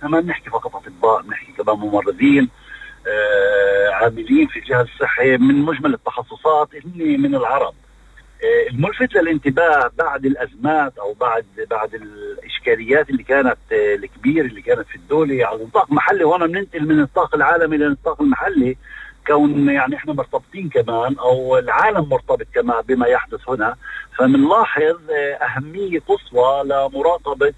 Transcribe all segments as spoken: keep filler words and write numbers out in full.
احنا ما بنحكي فقط اطباء، بنحكي كمان ممرضين، آه عاملين في الجهاز الصحي من مجمل التخصصات اللي من العرب. آه الملفت للانتباه بعد الازمات او بعد بعد الاشكاليات اللي كانت آه الكبيره اللي كانت في الدوله على نطاق محلي، وهنا بننتقل من النطاق العالمي للنطاق المحلي، كون يعني احنا مرتبطين كمان او العالم مرتبط كمان بما يحدث هنا، فبنلاحظ اهميه قصوى لمراقبه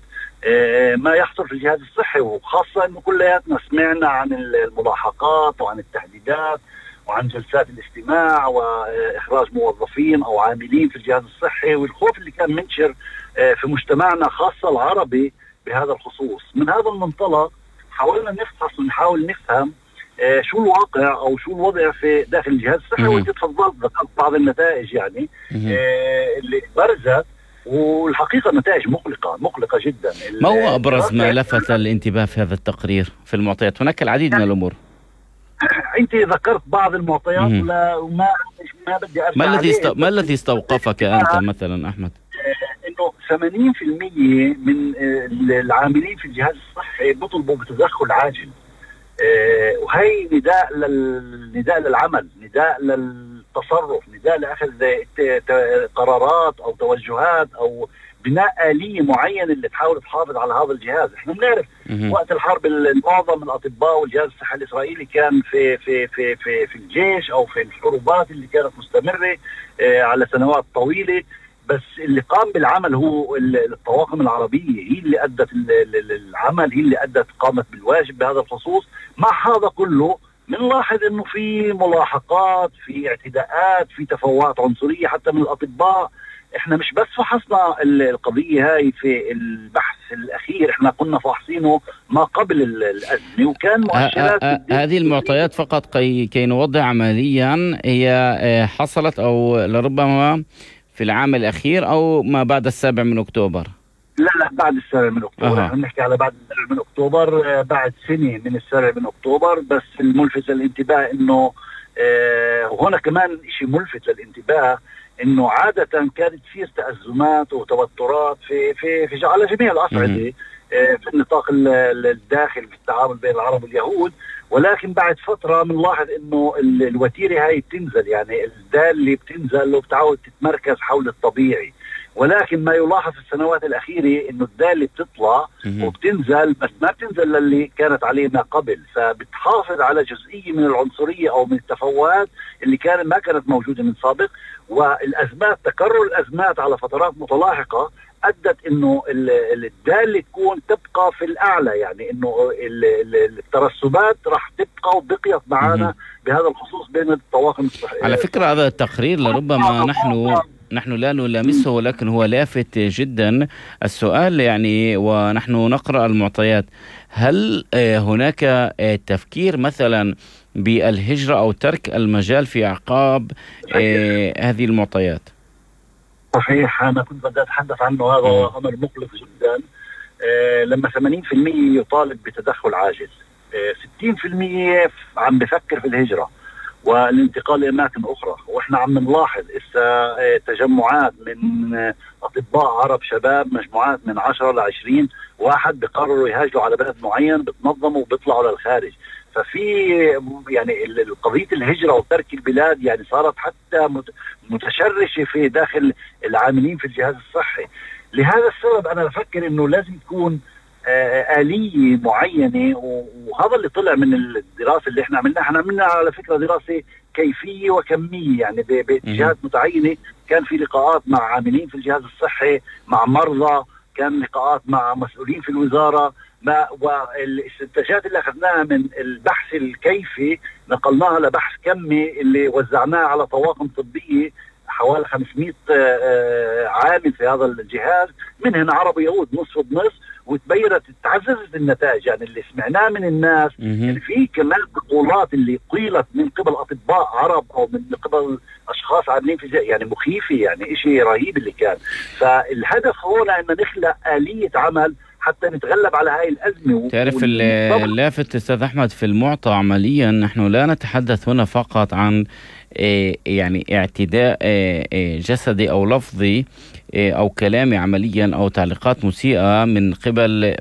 ما يحصل في الجهاز الصحي، وخاصه انه كلياتنا سمعنا عن الملاحقات وعن التهديدات وعن جلسات الاستماع واخراج موظفين او عاملين في الجهاز الصحي، والخوف اللي كان منشر في مجتمعنا خاصه العربي بهذا الخصوص. من هذا المنطلق حاولنا نفحص ونحاول نفهم آه شو الواقع او شو الوضع في داخل الجهاز الصحي، وانت تفضلت ذكرت بعض النتائج يعني آه اللي برزت، والحقيقه نتائج مقلقه مقلقه جدا. ما هو ابرز ما لفت الانتباه في هذا التقرير في المعطيات؟ هناك العديد من الامور. انت ذكرت بعض المعطيات ولا وما ما بدي ارجع ما الذي است... ما الذي استوقفك انت مثلا احمد؟ آه انه ثمانين بالمئة من آه العاملين في الجهاز الصحي بيطلبوا بتدخل عاجل، آه وهي نداء للنداء للعمل، نداء للتصرف، نداء لاخذ قرارات او توجهات او بناء آلية معينة اللي تحاول تحافظ على هذا الجهاز. احنا بنعرف وقت الحرب معظم الاطباء والجهاز الصحي الاسرائيلي كان في في في في في الجيش او في الحروبات اللي كانت مستمرة آه على سنوات طويلة، بس اللي قام بالعمل هو الطواقم العربية، هي اللي أدت العمل، هي اللي أدت قامت بالواجب بهذا الخصوص. مع هذا كله بنلاحظ انه في ملاحقات، في اعتداءات، في تفوهات عنصرية حتى من الأطباء. احنا مش بس فحصنا القضية هاي في البحث الأخير، احنا كنا فاحصينه ما قبل الأزمة، وكان مؤشرات هذه المعطيات فقط كي, كي نوضح عمليا هي حصلت أو لربما في العام الأخير أو ما بعد السابع من أكتوبر؟ لا لا بعد السابع من أكتوبر. احنا بنحكي على بعد السابع من أكتوبر، بعد سنة من السابع من أكتوبر. بس الملفت للانتباه إنه آه وهنا كمان شيء ملفت للانتباه إنه عادة كانت تصير تأزمات وتوترات في في في على جميع الأصعدة آه في النطاق الداخلي في التعامل بين العرب واليهود، ولكن بعد فترة بنلاحظ انه الوتيرة هاي بتنزل، يعني الدالة بتنزل وبتعود تتمركز حول الطبيعي. ولكن ما يلاحظ في السنوات الأخيرة انه الدالة بتطلع وبتنزل، بس ما بتنزل للي كانت عليه ما قبل، فبتحافظ على جزئية من العنصرية او من التفوهات اللي كانت ما كانت موجودة من سابق. والأزمات، تكرر الأزمات على فترات متلاحقة أدت إنه الدالة تكون تبقى في الأعلى، يعني إنه الترسبات راح تبقى وبقيت معنا بهذا الخصوص بين الطواقم الصحية. على فكرة هذا التقرير لربما نحن نحن لا نلامسه، ولكن هو لافت جدا. السؤال يعني ونحن نقرأ المعطيات، هل هناك تفكير مثلا بالهجرة أو ترك المجال في أعقاب هذه المعطيات؟ صحيح، أنا كنت بدي أتحدث عنه، هذا أمر مقلق جدا. آه لما ثمانين بالمئة يطالب بتدخل عاجل، آه ستين بالمئة عم بفكر في الهجرة والانتقال لأماكن أخرى. وإحنا عم نلاحظ إسا آه تجمعات من آه أطباء عرب شباب، مجموعات من عشرة لعشرين واحد بقرروا يهاجروا على بلد معين، بتنظموا وبيطلعوا للخارج. ففي يعني قضية الهجرة وترك البلاد يعني صارت حتى متشرشة في داخل العاملين في الجهاز الصحي. لهذا السبب أنا بفكر إنه لازم تكون آلية معينة، وهذا اللي طلع من الدراسة اللي احنا عملناها. احنا عملنا على فكرة دراسة كيفية وكمية، يعني باتجاهات متعينة. كان في لقاءات مع عاملين في الجهاز الصحي، مع مرضى، كان لقاءات مع مسؤولين في الوزارة، ما والاستنتاجات اللي اخذناها من البحث الكيفي نقلناها لبحث كمي اللي وزعناه على طواقم طبية حوالي خمسمئة عامل في هذا الجهاز، منهن عرب ويهود نصف بنصف، وتبينت تعززت النتائج. يعني اللي سمعناه من الناس يعني في كمان بطولات اللي قيلت من قبل اطباء عرب او من قبل اشخاص عاملين في يعني مخيفه، يعني شيء رهيب اللي كان. فالهدف هنا ان نخلق آلية عمل حتى نتغلب على هاي الأزمة. تعرف اللافت أستاذ أحمد في المعطى عمليا، نحن لا نتحدث هنا فقط عن يعني اعتداء جسدي أو لفظي أو كلامي عمليا أو تعليقات مسيئة من قبل